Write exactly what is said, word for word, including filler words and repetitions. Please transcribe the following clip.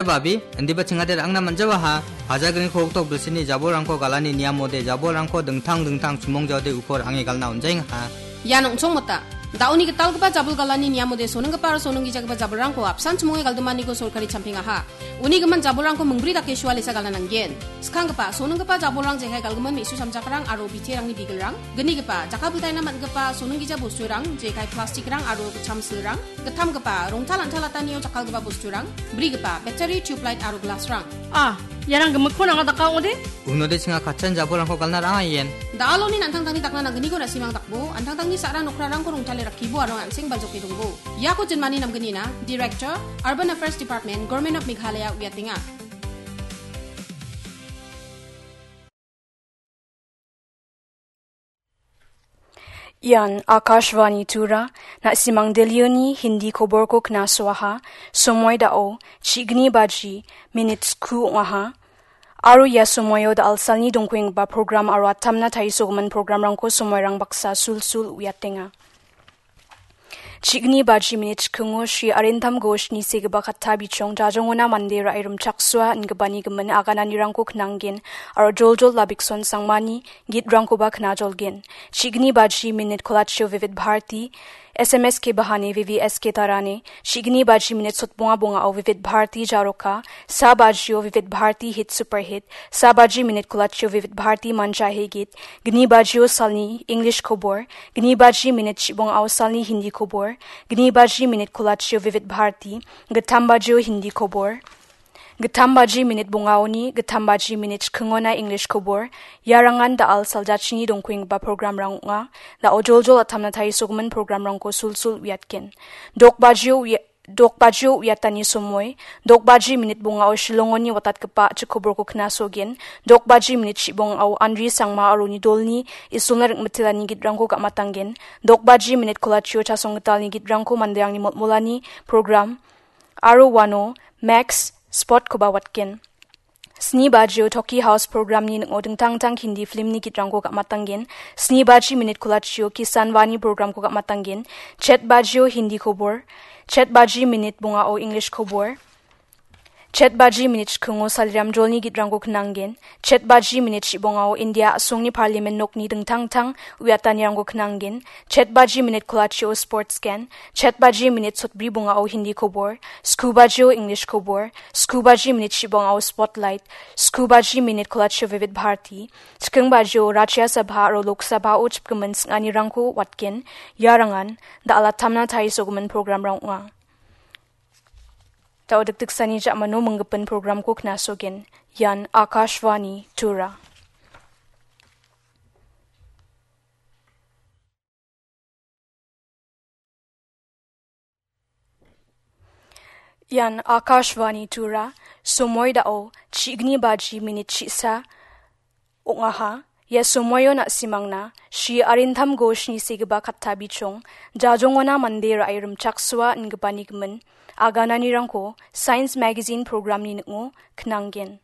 Babi, indiba chingade ra·angna man·jawaha, pajagriko oktok bilsini jabolrangko galani niamode jabolrangko dingtang dingtang chimongjaode uko ra·ange galna on·jaengaha. Ian ong·chongmota. Da·oni gitalgipa jabol galani niamode sonenggipa aro sonenggijagipa jabolrangko apsan chimonge galdimaniko sorkari champengaha. Uni gimin jabolrangko mingbri dake sualesa galna nanggen. Skanggipa, sonenggipa jabolrang jekai galgimin me·su samjakrang aro biterangni bigelrang. Gnigipa, jakkalbiltaina man·gipa sonenggija bosturang, jekai plastikrang aro gitcham silrang. Gittamgipa, rongtal antalatanio jakkalgipa bosturang. Brigipa, battery, tubelight aro glassrang. Ah, iarang gimikkon anga daka ong·ode? Unode chinga katchan jabolrangko galna ra·angaien. Da·aloni an·tangtangni dakna nanggniko na·simang dakbo, an·tangtangni sa·ra nokrarangko rongtale rakkibo aro an·seng baljoke dongbo. Iako jinmani namgnina, Director, Urban Affairs Department, Government of Meghalaya uiatenga. Ian Akashvani Tura, na·simang Delhioni Hindi koborko knasoaha, somoi da·o, chigni baji, minit sku ong·aha. Aro ia somoio da·alsalni dongkuenggipa program aro atamna taisogimin programrangko somoirang baksa sulsul uiatenga. Chigni baji minit chikingo Shri Arintam Ghoshni segipa katta bichong jajongona mande ra·e rimchaksoa ingipani gimin agananirangko knanggen aro joljol Labikson Sangmani gitrangkoba knajolgen. Chigni baji minit kolachio Vivid Bharati, S M S ke bahane V V S ke tarane, chigni baji minit sotbonga bongao Vivid Bharati Jaroka, sa bajio Vivid Bharati Hit Super Hit, sa baji minit kolachio Vivid Bharati Mancha He Git, gni bajio salni English kobor, gni baji minit chibongao salni Hindi kobor, gni baji minit kolachio Vivid Bharati, gittam bajio Hindi kobor, gittam baji minit bongaoni, gittam baji minit chikingona English kobor, iarangan da·al saljachini dongkuenggipa programrang ong·a. Da·o joljol atamna tarisogimin programrangko sulsul uiatgen. Dok bajio ui-, dok bajio uiatani somoi, dok baji minit bongao Shillongoni watatgipa a·chik koborko knasogen, dok baji minit chibongao Andri Sangma aro uni dolni Isolna ringmitelani gitrangko ga·matanggen, dok baji minit kolachio Chasong Gitalni gitrangko manderangni molmolani program, aro uano Max Spotkoba watgen. Sni bajio Toki House programni ning·o dingtang dingtang Hindi filmni gitrangko ga·matanggen. Sni baji minit kolachio Kisan Vani programko ga·matanggen. Chet bajio Hindi kobor. Chet baji minit bongao English kobor. Chet baji minit chikingo Saliram Jolni gitrangko knanggen. Chet baji minit chibongao India a·songni parliament nokni dingtang dingtang uiatanirangko knanggen. Chet baji minit kolachio sports gen. Chet baji minit sotbri bongao Hindi kobor. Sku bajio English kobor. Sku baji minit chibongao spotlight. Sku baji minit kolachio Vivid Bharati. Chiking bajio Rajya Sabha aro Lok Sabhao chipgimin sing·anirangko watgen. Iarangan da·al atamna tarisogimin programrang ong·a. Da·o dikdiksani ja·mano minggipin programko knasogen. Ian Akashvani Tura. Ian Akashvani Tura, somoi da·o chigni baji minit chisa ong·aha. Ia somoio na·simangna Shri Arindam Ghoshni segipa katta bichong, jajongona mande ra·e rimchaksoa ingipani gimin, agananirangko Science Magazine programni ning·o knanggen.